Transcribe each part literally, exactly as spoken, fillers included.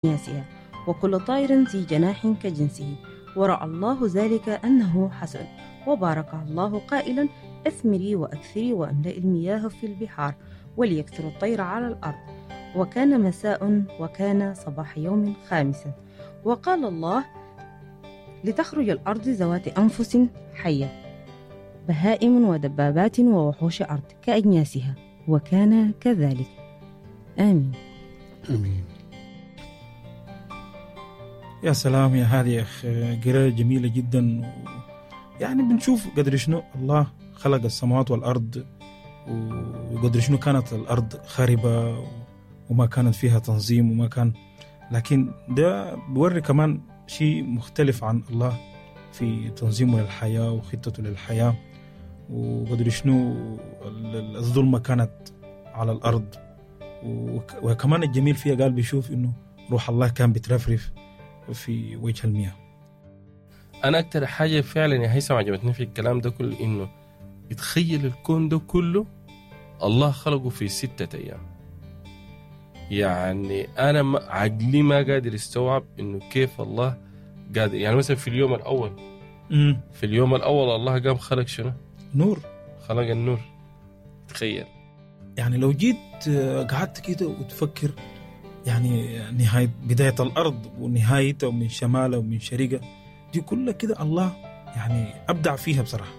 كأجناسها، وكل طائر ذي جناح كجنسه. ورأى الله ذلك أنه حسن، وباركها الله قائلا: أثمري وأكثري وأملئي المياه في البحار، وليكثر الطير على الأرض. وكان مساء وكان صباح يوم خامس. وقال الله: لتخرج الأرض ذوات أنفس حية، بهائم ودبابات ووحوش أرض كأجناسها، وكان كذلك. آمين. امين. يا سلام يا هادي يا أخ، قراءة جميلة جدا. يعني بنشوف قدر شنو الله خلق السماوات والأرض، وقدر شنو كانت الأرض خاربة وما كانت فيها تنظيم وما كان، لكن ده بوري كمان شيء مختلف عن الله في تنظيمه للحياة وخطته للحياة، وقدر شنو الظلمة كانت على الأرض. وكمان الجميل فيها قال بيشوف إنه روح الله كان بترفرف في وجه المياه. أنا أكتر حاجة فعلا يا هيثم عجبتني في الكلام ده كله، إنه يتخيل الكون ده كله الله خلقه في ستة أيام. يعني أنا ما عقلي ما قادر يستوعب إنه كيف الله قادر. يعني مثلا في اليوم الأول، مم. في اليوم الأول الله قام خلق شنو؟ نور. خلق النور. تخيل يعني لو جيت قعدت كده وتفكر، يعني نهاية بداية الأرض ونهايتها ومن شمالها ومن شرقها، دي كلها كده الله يعني أبدع فيها بصراحة.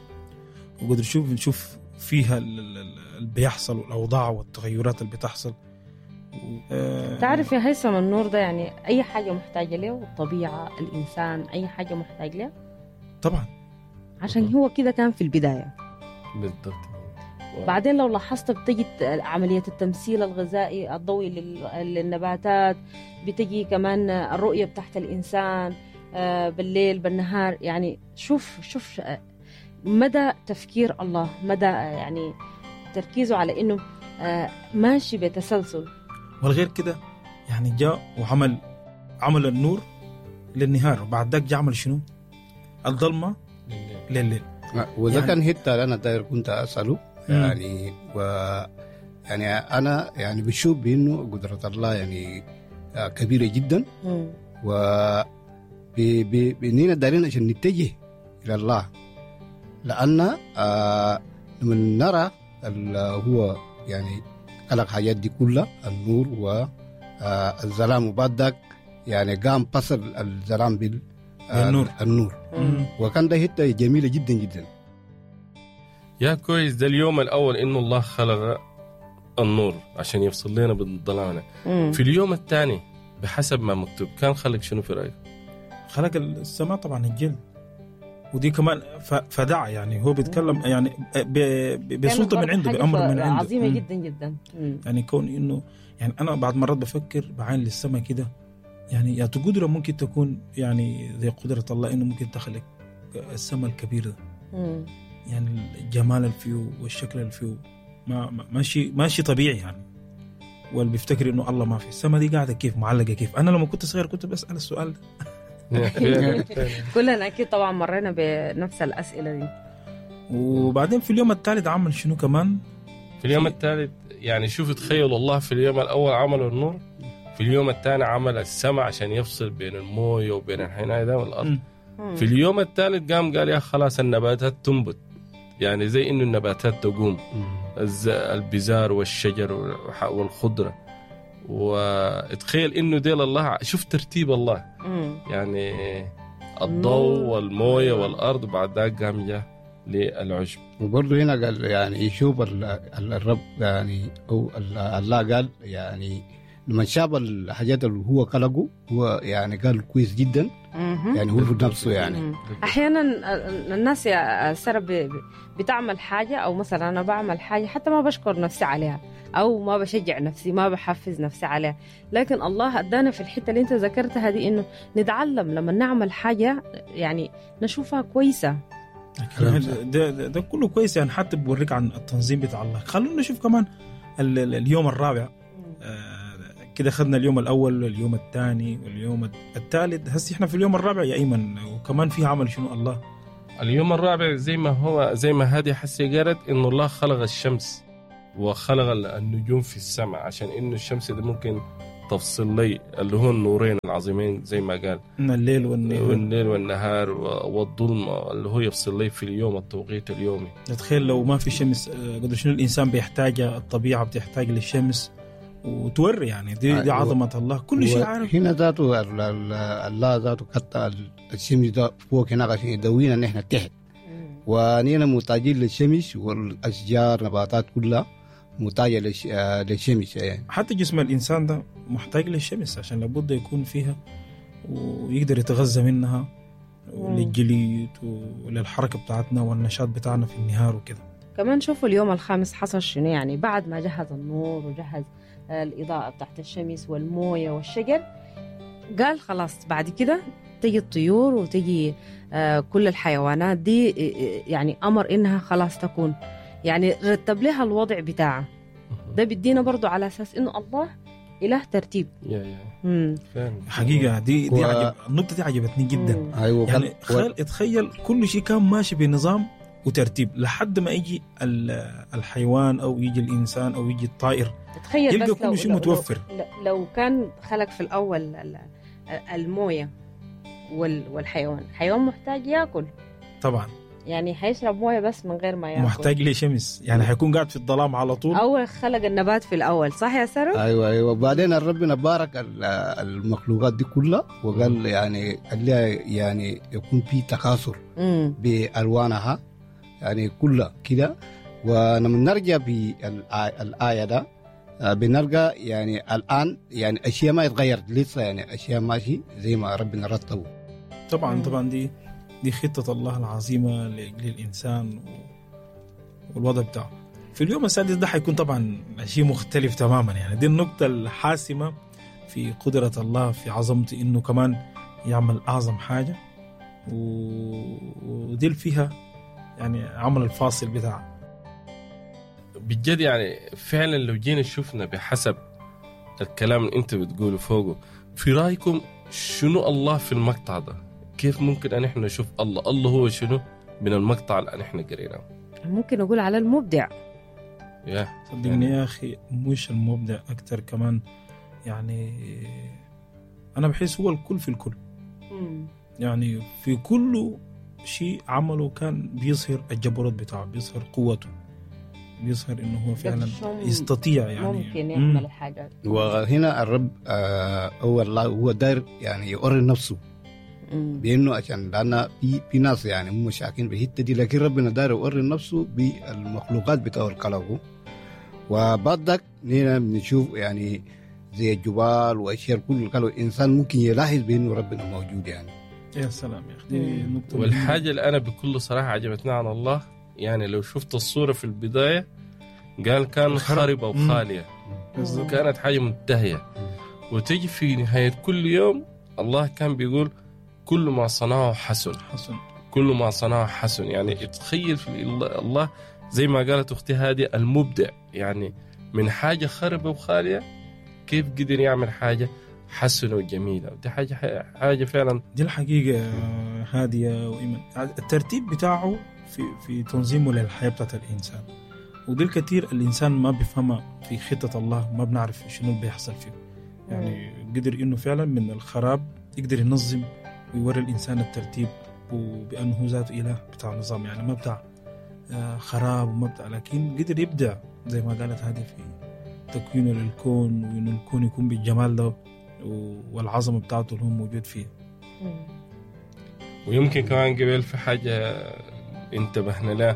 وقدر نشوف نشوف فيها اللي بيحصل والأوضاع والتغيرات اللي بتحصل. و... تعرف يا هيثم النور ده يعني أي حاجة محتاجة له، الطبيعة، الإنسان، أي حاجة محتاج له طبعا، عشان هو كده كان في البداية بالضبط. بعدين لو لاحظت بتجي عملية التمثيل الغذائي الضوئي للنباتات، بتجي كمان الرؤية بتاعت الإنسان بالليل بالنهار. يعني شوف شوف مدى تفكير الله، مدى يعني تركيزه على إنه ماشي بتسلسل. والغير كده يعني جاء وعمل عمل النور للنهار، وبعد ذاك جاء عمل شنو؟ الظلمة لليل. وإذا يعني كان هتا أنا داير كنت أسأله يعني و يعني أنا يعني بشوف بإنه قدرة الله يعني كبيرة جدا، و بإننا دارين عشان نتجه إلى الله، لأن آه لما نرى هو يعني خلق حاجات دي كلها، النور والظلام، وبعد ذاك يعني قام فصل الظلام بالنور النور. وكان ده حتة جميلة جدا جدا. يا كويس، ده اليوم الأول إنه الله خلق النور عشان يفصل لنا بالظلام. في اليوم الثاني بحسب ما مكتوب كان خلق شنو في رأيك؟ خلق السماء طبعا، الجلد، ودي كمان فدع، يعني هو بيتكلم يعني بسلطة من عنده، بأمر من عنده عظيمة جدا جدا. يعني كون إنه يعني أنا بعد مرات بفكر بعين للسماء كده، يعني يا قدرة ممكن تكون يعني زي قدرة الله إنه ممكن تخلق السماء الكبير ده، يعني الجمال اللي فيه والشكل اللي فيه ما ماشي ماشي طبيعي يعني. واللي بيفتكر إنه الله ما في السماء دي قاعدة كيف معلقة كيف. أنا لما كنت صغير كنت بسأل السؤال ده. كلنا أكيد طبعا مرينا بنفس الأسئلة دي. وبعدين في اليوم الثالث عمل شنو كمان؟ في اليوم الثالث يعني شوف، تخيل الله في اليوم الأول عمل النور، في اليوم الثاني عمل السماء عشان يفصل بين الموية وبين الحناية ده والأرض. في اليوم الثالث قام قال يا خلاص النباتات تنبت، يعني زي إنه النباتات تقوم، البزار والشجر والخضرة. وتخيل إنه ديل الله، شوف ترتيب الله، يعني الضوء والموية والأرض، بعد ذاك قام جاء للعشب. وبرضه هنا قال يعني يشوف الرب يعني أو الله قال يعني لما شاف الحاجات اللي هو خلقه هو يعني قال كويس جدا، يعني هو في نفسه يعني. احيانا الناس يا سارة بتعمل حاجة، او مثلا انا بعمل حاجة حتى ما بشكر نفسي عليها، او ما بشجع نفسي، ما بحفز نفسي عليها، لكن الله ادانا في الحتة اللي انت ذكرتها دي انه نتعلم لما نعمل حاجة يعني نشوفها كويسة. ده, ده, ده كله كويس يعني، حتى بوريك عن التنظيم بتاع الله. خلونا نشوف كمان اليوم الرابع. كده خدنا اليوم الأول واليوم الثاني واليوم الثالث، هسي احنا في اليوم الرابع يا أيمن، وكمان فيه عمل شنو الله؟ اليوم الرابع زي ما هو زي ما هادي حسي قالت إنه الله خلق الشمس وخلق النجوم في السماء، عشان إنه الشمس ده ممكن تفصل لي اللي هو النورين العظيمين زي ما قال، الليل والنهار، والليل والنهار والظلمة اللي هو يفصل لي في اليوم التوقيت اليومي. تخيل لو ما في شمس قدر شنو الإنسان بيحتاج، الطبيعة بتحتاج للشمس وتوري يعني دي, دي عظمة الله كل شيء عارف. هنا ذاته الله ذاته قطع الشمس ده فوق هناك عشان يدوينا نحن تحت، ونحن محتاجين للشمس والأشجار نباتات كلها محتاجة للشمس يعني. حتى جسم الإنسان ده محتاج للشمس عشان لابد يكون فيها ويقدر يتغذى منها وللجليد وللحركة بتاعتنا والنشاط بتاعنا في النهار وكده. كمان شوفوا اليوم الخامس حصل شنو، يعني بعد ما جهز النور وجهز الإضاءة بتاعت الشمس والموية والشجر، قال خلاص بعد كده تجي الطيور وتجي كل الحيوانات دي، يعني أمر إنها خلاص تكون، يعني رتب لها الوضع بتاعها. ده بيدينا برضو على أساس إنه الله إله ترتيب. يا يا حقيقة دي دي و... عجب... النقطة دي عجبتني جدا. أيوة. يعني خيال اتخيل كل شيء كان ماشي بنظام وترتيب لحد ما يجي الحيوان أو يجي الإنسان أو يجي الطائر، تخيل يلقى بس كل لو شيء لو متوفر. لو, لو كان خلق في الأول الموية والحيوان، الحيوان محتاج يأكل طبعا، يعني حيشرب مويه بس من غير ما ياكل، محتاج لشمس، يعني حيكون قاعد في الظلام على طول. اول خلق النبات في الاول، صح يا سارة؟ ايوه ايوه. وبعدين ربنا بارك المخلوقات دي كلها وقال يعني قال يعني يكون في تكاثر بالوانها يعني كلها كده. ولما نرجع بالآية ده بنلقى يعني الآن يعني أشياء ما اتغيرت لسه، يعني أشياء ماشي زي ما ربنا رتبه. طبعا طبعا دي دي خطة الله العظيمة للإنسان والوضع بتاعه. في اليوم السادس ده حيكون طبعا شيء مختلف تماما، يعني دي النقطة الحاسمة في قدرة الله في عظمته، إنه كمان يعمل أعظم حاجة، ودي فيها يعني عمل الفاصل بتاعه بجد. يعني فعلا لو جينا شفنا بحسب الكلام اللي انت بتقوله فوقه، في رأيكم شنو الله في المقطع ده؟ كيف ممكن أن احنا نشوف الله؟ الله هو شنو من المقطع اللي احنا قريناه؟ ممكن أقول على المبدع. يا صدقني يا أخي مش المبدع أكتر كمان، يعني أنا بحس هو الكل في الكل. مم. يعني في كل شيء عمله كان بيظهر الجبروت بتاعه، بيظهر قوته، بيظهر إنه هو فعلا يستطيع يعني ممكن يعمل الحاجات. وهنا الرب آه هو الله هو داير يعني يوري نفسه بانه عشان لان في في ناس يعني هم شاكين بالحتة دي، لكن ربنا داير يوري نفسه بالمخلوقات بتاعه الخلقة. وبعدك هنا بنشوف يعني زي الجبال واشياء كل قالوا الانسان ممكن يلاحظ بانه ربنا موجود يعني. يا سلام يا اخي، نقطة. والحاجة اللي انا بكل صراحة عجبتني عن الله، يعني لو شفت الصورة في البداية قال كان خربه وخالية، كانت حاجة منتهية، وتجي في نهاية كل يوم الله كان بيقول كل ما صنعه حسن، حسن، كل ما صنعه حسن. يعني تخيل في الله زي ما قالت أختي هادي المبدع، يعني من حاجة خربة وخالية كيف قدر يعمل حاجة حسنة وجميلة. دي حاجة حاجة فعلا، دي الحقيقة هادية وإيمان الترتيب بتاعه في في تنظيمه للحياة بتاعت الإنسان، ودي الكثير الإنسان ما بيفهمها في خطة الله، ما بنعرف شنو اللي بيحصل فيه. يعني قدر إنه فعلا من الخراب يقدر ينظم ويوري الإنسان الترتيب، وبأنه هو ذاته إله بتاع نظام، يعني ما بتاع خراب وما بتاع، لكن قدر يبدع زي ما قالت هذه في تكوينه للكون، وإنه الكون يكون بالجمال ده والعظمة بتاعته اللي هو موجود فيه. ويمكن كمان قبل في حاجة انتبهنا لها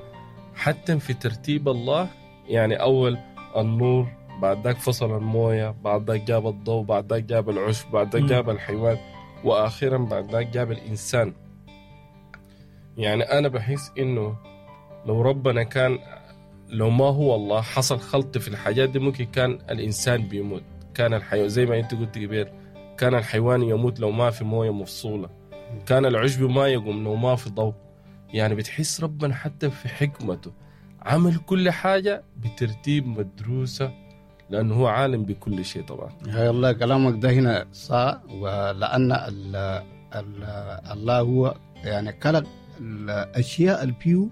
حتى في ترتيب الله، يعني أول النور، بعد ذاك فصل الموية، بعد ذاك جاب الضوء، بعد ذاك جاب العشب، بعد ذاك جاب الحيوان، وأخيرا بعد ذاك جاب الإنسان. يعني أنا بحس إنه لو ربنا كان، لو ما هو الله حصل خلط في الحاجات دي، ممكن كان الإنسان بيموت، كان الحيوان زي ما أنت قلت قبل، كان الحيوان يموت لو ما في موية مفصولة، كان العشب ما يقوم لو ما في ضوء. يعني بتحس ربنا حتى في حكمته عمل كل حاجة بترتيب مدروسة، لأنه هو عالم بكل شيء. طبعا يا الله كلامك ده هنا صح، ولأن ال ال الله هو يعني خلق الأشياء البيو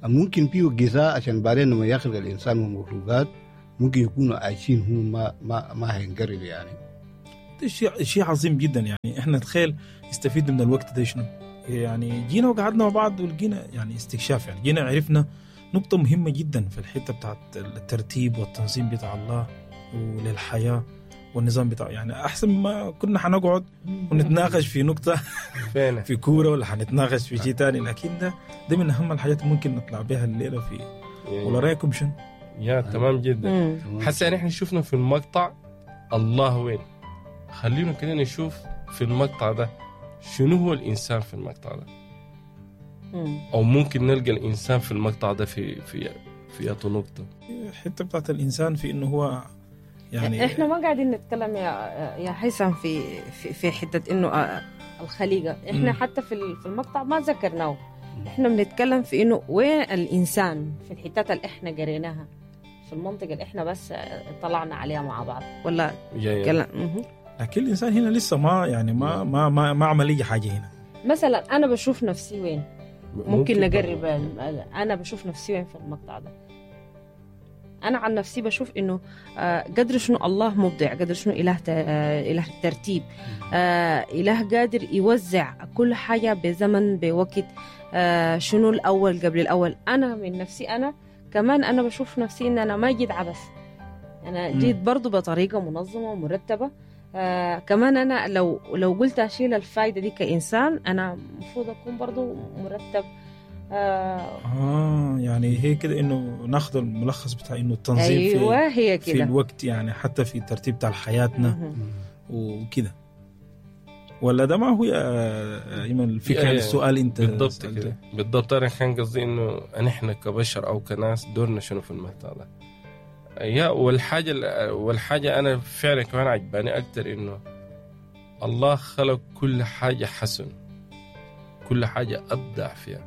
ممكن فيه غذاء عشان بعدين لما يخلق الإنسان ومخلوقات ممكن يكونوا عايشين هم ما ما ما هينقرض يعني. ده شيء شيء عظيم جدا. يعني احنا تخيل استفيدنا من الوقت ده شنو. يعني جينا وقعدنا مع بعض ولقينا يعني استكشاف، يعني جينا عرفنا نقطة مهمة جدا في الحتة بتاعت الترتيب والتنظيم بتاع الله وللحياة والنظام بتاعه. يعني أحسن ما كنا حنقعد ونتناقش في نقطة فين في كورة ولا حنتناقش في شيء تاني، لكن ده ده من أهم الحاجات اللي ممكن نطلع بها الليلة في. ولا رأيكم شنو؟ يا تمام جدا. مم. حسا نحن شفنا في المقطع الله وين، خلينا كده نشوف في المقطع ده شنو هو الإنسان في المقطع ده، مم. أو ممكن نلقى الإنسان في المقطع ده في في في أي نقطة. الحتة بتاعت الإنسان في إنه هو يعني احنا ما قاعدين نتكلم يا يا هيثم في في, في حتة انه آه، الخليقة، احنا مم. حتى في ال- في المقطع ما ذكرناه. احنا بنتكلم في انه وين الانسان في الحتات اللي احنا قريناها في المنطقة اللي احنا بس آه، طلعنا عليها مع بعض ولا يا يا. كلام. مهم. لكن الإنسان هنا لسه ما يعني ما ما ما, ما عمل أي حاجة هنا. مثلا انا بشوف نفسي وين، ممكن نقرب برضو. ال- انا بشوف نفسي وين في المقطع ده. انا عن نفسي بشوف انه آه، قدر شنو الله مبدع، قدر شنو اله ت- آه، اله ترتيب، آه، اله قادر يوزع كل حاجة بزمن بوقت، آه، شنو الاول قبل الاول. انا من نفسي انا كمان انا بشوف نفسي ان انا ما جيت عبث، انا مم. جيت برضو بطريقة منظمة ومرتبة. آه كمان انا لو لو قلت اشيل الفايدة دي كانسان، انا المفروض اكون برضو مرتب. آه آه يعني هي كده إنه ناخذ الملخص بتاع إنه التنظيم ايوه في هي في كده الوقت، يعني حتى في الترتيب بتاع حياتنا مهم. وكده. ولا ده ما هو يا ايمن الفكرة يا- يا. السؤال انت بالضبط سألته. كده بالضبط. انا كان قصدي انه نحن كبشر او كناس دورنا شنو في المقطع ده. يا والحاجة والحاجة انا فعلا كمان عجباني اكثر انه الله خلق كل حاجة حسن، كل حاجة ابدع فيها.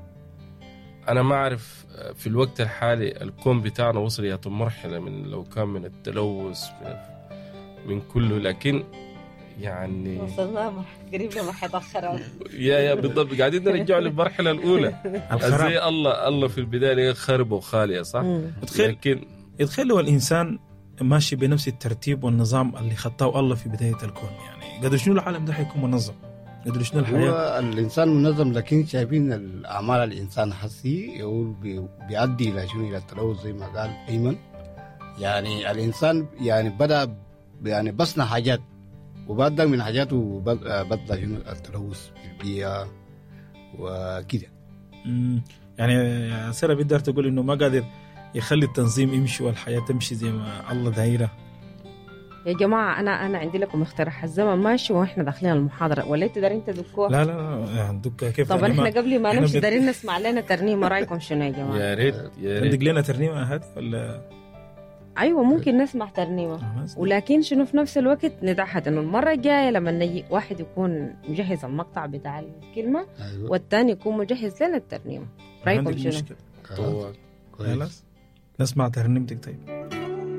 انا ما اعرف في الوقت الحالي الكون بتاعنا وصل الى مرحلة من لو كان من التلوث من, من كله، لكن يعني وصلنا قريب لمرحلة الخراب. يا يا بالضبط قاعدين نرجع للمرحلة الاولى. الخراب. زي الله الله في البداية خرب وخالية صح؟ تخيل لكن تخيل لو الانسان ماشي بنفس الترتيب والنظام اللي خطاه الله في بداية الكون، يعني قدر شنو العالم ده حيكون منظم، قدر شنو الحياة. هو الانسان منظم، لكن شايفين الاعمال الانسان حسي يقول بي- بيؤدي الى شنو؟ الى التلوث زي ما قال ايمن. يعني الانسان يعني بدا يعني بصنع حاجات، وبعد من حاجاته بدا شنو؟ التلوث في البيئة وكده. مم. يعني يا ساره بيقدر تقول انه ما قادر يخلي التنظيم يمشي والحياة تمشي زي ما الله دايرة. يا جماعة انا انا عندي لكم اقتراح، الزمن ماشي واحنا داخلين المحاضرة، ولا انت دارين تدكوها؟ لا لا لا عندك كيف؟ طب يعني احنا ما- قبل ما إحنا نمشي بنت- دارين نسمع لنا ترنيمة، رايكم شنو يا جماعة؟ يا ريت يا عندك ريت لنا ترنيمة هذه ولا؟ ايوه ممكن نسمع ترنيمة، ولكن شنو في نفس الوقت نتعهد انه المرة الجاية لما نجي واحد يكون مجهز المقطع بتاع الكلمة ايوه والثاني يكون مجهز لنا الترنيمة. رايكم عندك شنو؟ مشكلة. خلاص طبعاً. كويس. خلاص نسمع ترنيمتك. طيب.